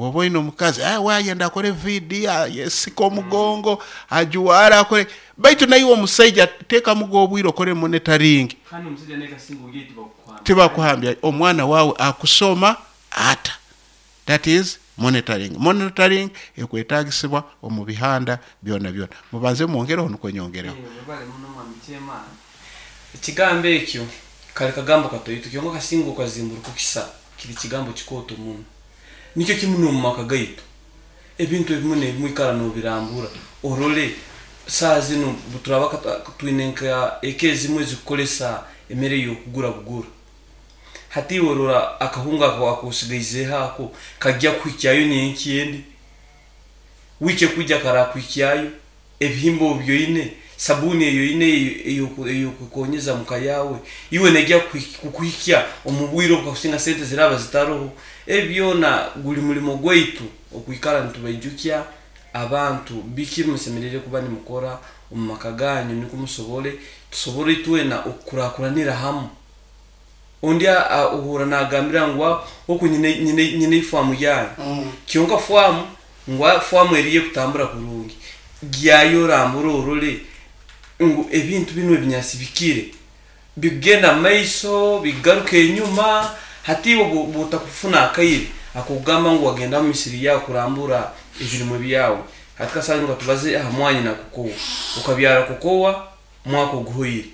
Oba oine omukazi, wayenda akore vidiyo, yesika omugongo, ajuwara, akore, baitu naiwe omusaija teekamuga obwire okore monitoring. Kandi omusaija naye kasinga ogiire tibakuhambya. Tibakuhambya. Omwana wawe akusoma ata? That is monitoring. Monitoring ekwetagisibwa omu bihanda byona byona. Mubanze mwongereho nukwo nyongereho. Webale muno, mwami chairman. Ekigambo ekyo kali kagambo katoito, kyonka kasinga okazimburukukisa kiri kigambo kikooto muno. Nikyo kimu n'omu maka gaitu, ebintu ebimu n'ebimu ikara n'obirambura orole. Saaha zinu turaba twine nka eka ezimu ezikukolesa emere y'okugura bugura. Hati iwe rora akahunga ako akosigaizeho ako kajya kuhikyayo nyenkya endi, wiiki ekwija karakuhikyayo, ebihimba obu byoine, sabuuni eyo oine ey'okukonyeza muka yawe, iwe nejya kukuhikya omu bwire obu kakusinga sente ziraba zitaroho? Ebi byona guli mulimo gwaitu okwikara nitubaijukya abantu biki musemeriire kuba nimukora omu maka ganyu, nukwo musobole tusobole itwena okukurakuranira hamu. Ondi ohura nagambira ngu oku nyine ifaamu yange, kyonka faamu ngu faamu eriyo ekutambura kurungi. Gyayo orambura orole ngu ebintu binu ebinyasi bikire bigenda mumaiso, bigaruka enyuma. Hati iwe bwotakufuna akaire akokugamba ngu wagenda mu misiri yawe kurambura ebirimwe byawe. Hati kasanga nga tubaze aha mwanyi na kokowa, okabyara kokowa mwaka oguhoire,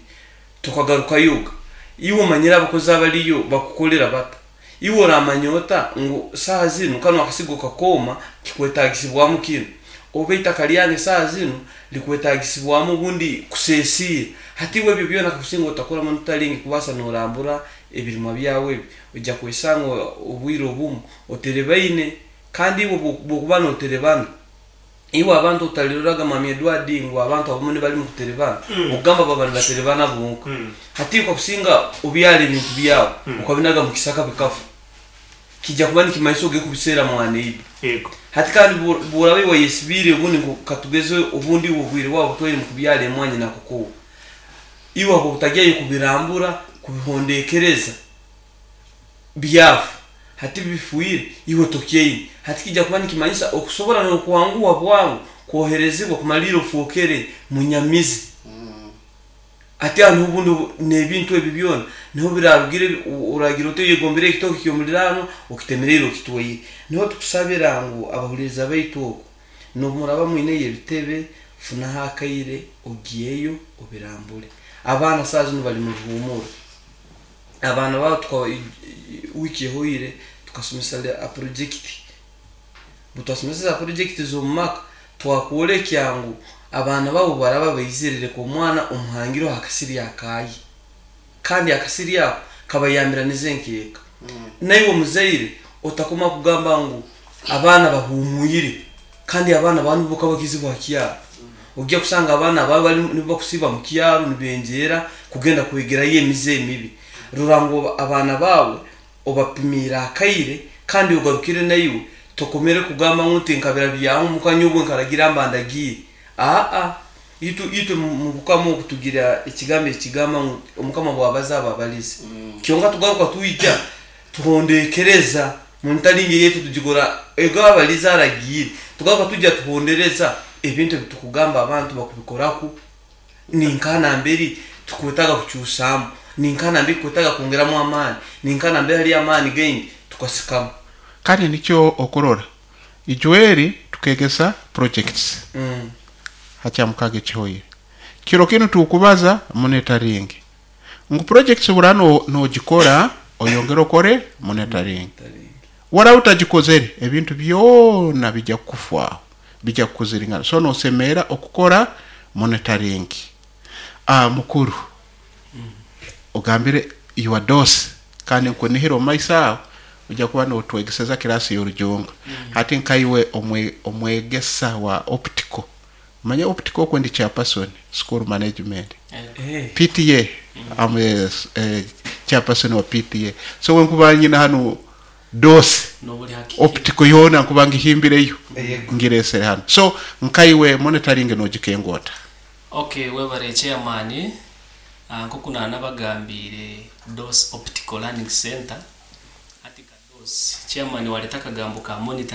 tokagarukayoga. Iwe omanyire abakozi abaliyo bakukolera bata? Iwe oramanya ota ngu saaha zinu kanu akasigo kakooma kikwetagisibwamu kinu, oba itaka lyange saaha zinu likwetagisibwamu obundi kusesiira? Hati iwe ebyo byona kakusinga otakora monitoring kubaasa norambura ebirimwa byawe ebi, ojja kwesanga obwire obumu oterebaine. Kandi iwe bwokuba noterebana, iwe abantu otaliroraga, mwami Edward, ngu abantu abamu nibali mukuterebana, okugamba baba nibaterebana bonka. Hati kakusinga obyara ebintu byawe okabinaga mu kisaka bikafa, kijja kuba nikimanyisa ogiye kubiseera mwana ibe. Hati kandi bworaba iwe wayesibiire obundi katugeze obundi iwe obwire bwawe butwaire mu kubyara emwanyi na kokowa, iwe abo obutagyayo kubirambura, kubihondekereza, byafa. Hati bifiire, iwe tokyaine. Hati kijja kuba nikimanyisa okusobora n'okwanguha bwangu kwoherezibwa kumalira ofookere munyamizi. Hati aho niho obundi n'ebintu ebi byona niho birarugire, oragira oti oyegombere ekitooke ky'omuliraano okitemereire okitwaire. Niho tukusabira ngu abahuliriza baitu oku n'obu muraba mwineyo ebitebe, funaho akaire ogyeyo obirambule. Abaana saaha zinu bali mu ruhuumuro. Abaana babo tuka wiiki ehoire tukasomesa a project. Butwasomesa za project z'omu maka, twakwolekya ngu abaana babo baraba baizire, leka omwana omuhangireho akasiri akaye, kandi akasiri ako kabayambiranize nk'eka. Naiwe omuzaire otakoma kugamba ngu abaana bahumwire, kandi abaana bawe nibo kaba kizibu ha kyaro. Ojja kusanga abaana bawe bali nibo bakusiiba mu kyaro nibenjeera kugenda kwegerayo emize emibi. Rora ngu abaana bawe obapimiire akaire, kandi ogarukire naiwe tokomere kugamba ngu nti nkabira byaho mukanya obwo nkaragira mba ndagiire. Aa, itwe mu bukama obu tugira ekigambo ekigamba ngu omukama bwabaza aba abalize. Kyonka tugaruka twija tuhondekereza monitoring yaitu tugikora ego abalize aragiire, tugaruka tujya tuhondereza ebintu ebitukugamba abantu bakubikoraku, ninka namberi tukwetaga kukyusaamu, ninka namberi tukwetaga kwongeramu amaani, ninka namberi hali amaani gaingi tukasikamu. Kandi nikyo okurora ijweri tukegesa projects hakyamukaga ekihoire kiro kinu tukubaza monitoring ngu projects bura nogikora oyongere okore monitoring. Waraba utagikozere, ebintu byona bijya kukufwaho, bijya kukuziringana. So nosemeera okukora monitoring. Mukuru ogambire your dose, kandi nkunihira omu maiso aho ojja kuba notwegeseza kirasi y'orujungu. Hati nkaiwe omwegesa wa optical, manya optical okwo ndi chairperson school management, PTA. I'm a chairperson wa PTA. So wenkuba nyina hanu dose optical yoona nkuba ngihimbireyo ngiresere hanu. So nkaiwe monitoring nogikenga ota? Okay, webare chairman. Nkoku nanabagambiire, DOS Optical Learning Center, hati ka DOS, chairman waleta akagambo ka monitoring.